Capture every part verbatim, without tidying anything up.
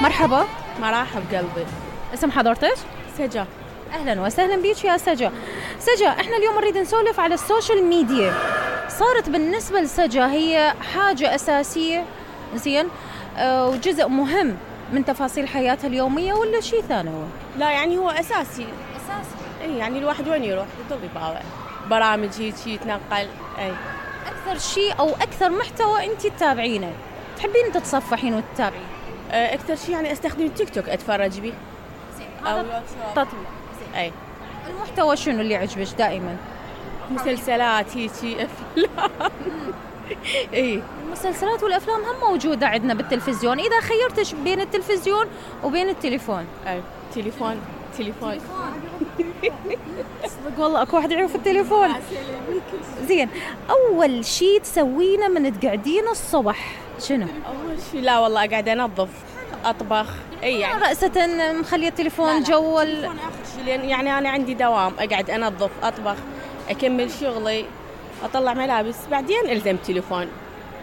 مرحبا. مرحب قلبي. اسم حضرتك؟ سجا. أهلا وسهلا بيك يا سجا. سجا، احنا اليوم نريد نسولف على السوشيال ميديا. صارت بالنسبة لسجا هي حاجة أساسية زين أه وجزء مهم من تفاصيل حياتها اليومية ولا شيء ثانوي؟ لا يعني هو أساسي. أساسي. اي يعني الواحد وين يروح يضل يباوع برامج هيك يتنقل. اي أكثر شيء أو أكثر محتوى أنت تتابعينه تحبين تتصفحين وتتابعين؟ أه أكثر شيء يعني أستخدم التيك توك أتفرج بيه. أو تطبيق. اي المحتوى شنو اللي عجبك دائما؟ مسلسلات هيك أفلام. اي المسلسلات والأفلام هم موجودة عندنا بالتلفزيون. إذا خيرتش بين التلفزيون وبين التليفون؟ اي تليفون تليفون. صدق والله اكو واحد يعرف التليفون. زين، أول شيء تسوينه من تقعدين الصبح شنو؟ أول شيء لا والله قاعدة أنظف أطبخ. اي يعني رأسة مخلية التليفون جوا ال... لأن يعني أنا عندي دوام أقعد أنظف أطبخ أكمل شغلي أطلع ملابس بعدين ألزم تليفون.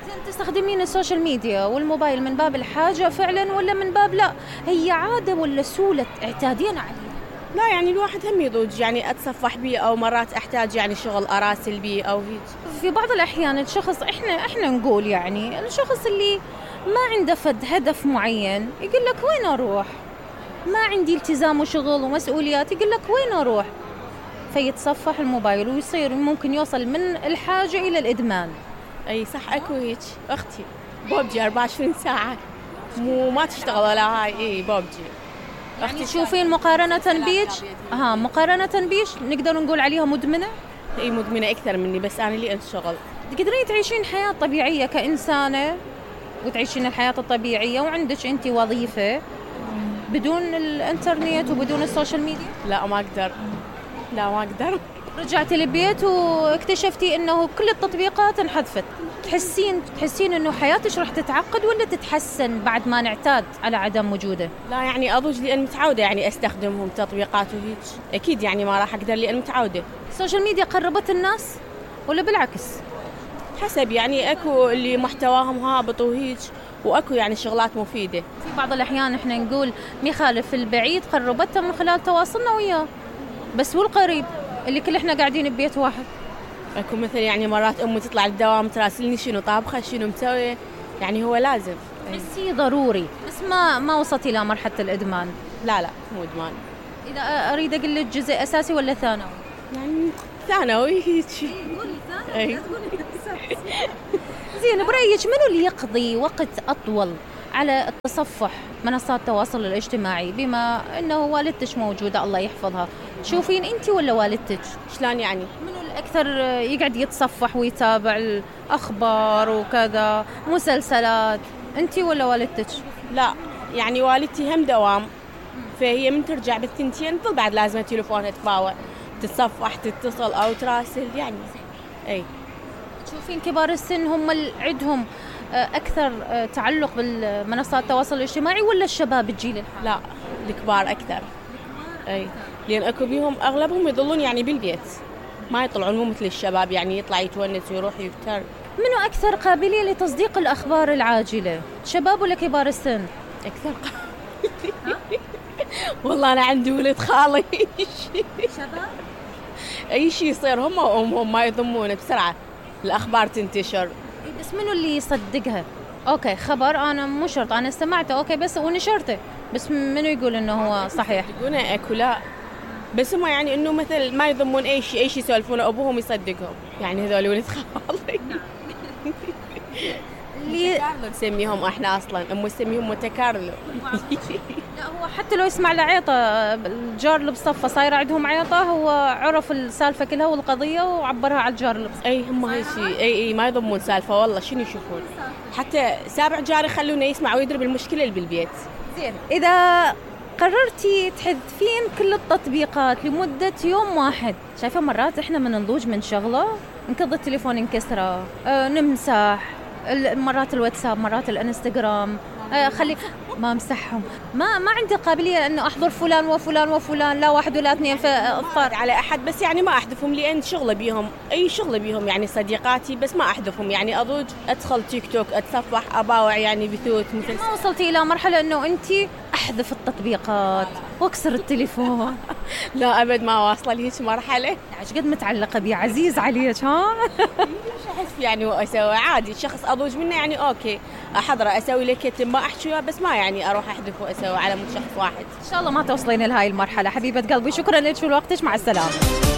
زين، تستخدمين السوشيال ميديا والموبايل من باب الحاجة فعلا ولا من باب لا هي عادة ولا سهولة اعتادين عليها؟ لا يعني الواحد هم يضوج يعني أتصفح بيه أو مرات أحتاج يعني شغل أراسل بيه أو هيك. في بعض الأحيان الشخص إحنا إحنا نقول يعني الشخص اللي ما عنده فد هدف معين يقول لك وين أروح؟ ما عندي التزام وشغل ومسؤوليات يقول لك وين أروح؟ فيتصفح الموبايل ويصير ممكن يوصل من الحاجة إلى الإدمان. أي صح أكو هيك أختي بوبجي أربعة وعشرين ساعة مو ما تشتغل ولا هاي. إيه بوبجي. يعني تشوفين مقارنة بيش ها مقارنة بيش نقدر نقول عليها مدمنة؟ إيه مدمنة أكثر مني بس أنا لي أشتغل. تقدرين تعيشين حياة طبيعية كإنسانة وتعيشين الحياة الطبيعية وعندك أنت وظيفة بدون الإنترنت وبدون السوشيال ميديا؟ لا ما أقدر. لا ما أقدر. رجعتي البيت واكتشفتي إنه كل التطبيقات انحذفت. تحسين تحسين إنه حياتك راح تتعقد ولا تتحسن بعد ما نعتاد على عدم وجوده؟ لا يعني أضوج لأن متعودة يعني أستخدمهم تطبيقات وهيك أكيد يعني ما راح أقدر لأن متعودة. السوشيال ميديا قربت الناس ولا بالعكس؟ حسب يعني أكو اللي محتواهم هابط وهيك وأكو يعني شغلات مفيدة. في بعض الأحيان إحنا نقول مخالف البعيد قربته من خلال تواصلنا وياه بس والقريب اللي كل إحنا قاعدين ببيت واحد. أكو مثل يعني مرات أمي تطلع الدوام تراسلني شنو طابخة شنو مسوي يعني هو لازم. بس هي ضروري بس ما ما وصلت إلى مرحلة الإدمان. لا لا مو إدمان. إذا أريد أقول لك جزء أساسي ولا ثانوي؟ يعني ثانوي هيك. قولي ثانوي. زين، برأيك منو اللي يقضي وقت أطول على التصفح منصات التواصل الاجتماعي بما أنه والدتك موجودة الله يحفظها؟ تشوفين أنت ولا والدتك؟ شلون يعني؟ منو الأكثر يقعد يتصفح ويتابع الأخبار وكذا مسلسلات أنت ولا والدتك؟ لا يعني والدتي هم دوام فهي من ترجع بالثنتين تظل بعد لازم تليفونها تباوع تتصفح تتصل أو تراسل يعني. أي تشوفين كبار السن هم اللي عندهم أكثر تعلق بالمنصات التواصل الاجتماعي ولا الشباب الجيل الحالي؟ لا الكبار أكثر. أي لأن أكو بيهم أغلبهم يظلون يعني بالبيت ما يطلعون مو مثل الشباب يعني يطلع يتونس ويروح يفتر. منو أكثر قابلية لتصديق الأخبار العاجلة؟ شباب ولا كبار السن؟ أكثر والله أنا عندي ولد خالي شباب أي شيء يصير هم وأمهم ما يضمونه بسرعة الأخبار تنتشر. بس منو اللي يصدقها؟ أوكي خبر أنا مو شرط أنا استمعته أوكي بس ونشرته بس منو يقول إنه هو صحيح؟ يقولونه أكو لا بس هم يعني إنه مثل ما يضمون أي شيء أي شيء يسولفونه أبوهم يصدقهم يعني هذول ولد خالي. اللي متكارلو نسميهم احنا اصلا امي تسميهم متكارلو. لا هو حتى لو يسمع لعيطه الجار اللي بصفه صايره عندهم عيطه هو عرف السالفه كلها والقضيه وعبرها على الجار اللي بصفه. اي هم هيك اي اي ما يضمون سالفه والله شنو يشوفون حتى سابع جار يخلونه يسمع ويدري بالمشكله اللي بالبيت. زين اذا قررتي تحذفين كل التطبيقات لمده يوم واحد شايفه مرات احنا من نضوج من شغله نكض التليفون ينكسره أه نمسح مرات الواتساب مرات الانستغرام أه خلي ما مسحهم. ما ما عندي قابليه انه احضر فلان وفلان وفلان، لا واحد ولا اثنين فاضطر على احد، بس يعني ما احذفهم لان شغله بيهم، اي شغله بيهم يعني صديقاتي، بس ما احذفهم يعني اضوج ادخل تيك توك اتصفح اباوع يعني بثوث مثل. ما وصلتي الى مرحله انه انت احذف التطبيقات واكسر التليفون؟ لا ابد ما واصله لهيك مرحله. ايش قد متعلقه بي عزيز عليك ها؟ احس يعني واسوي عادي، شخص اضوج منه يعني اوكي احضره اسوي له كتم ما احكي وياه، بس ما يعني اروح احذف واسوي على مود شخص واحد. ان شاء الله ما توصلين لهاي المرحله حبيبه قلبي. شكرا لك ولوقتك، مع السلامه.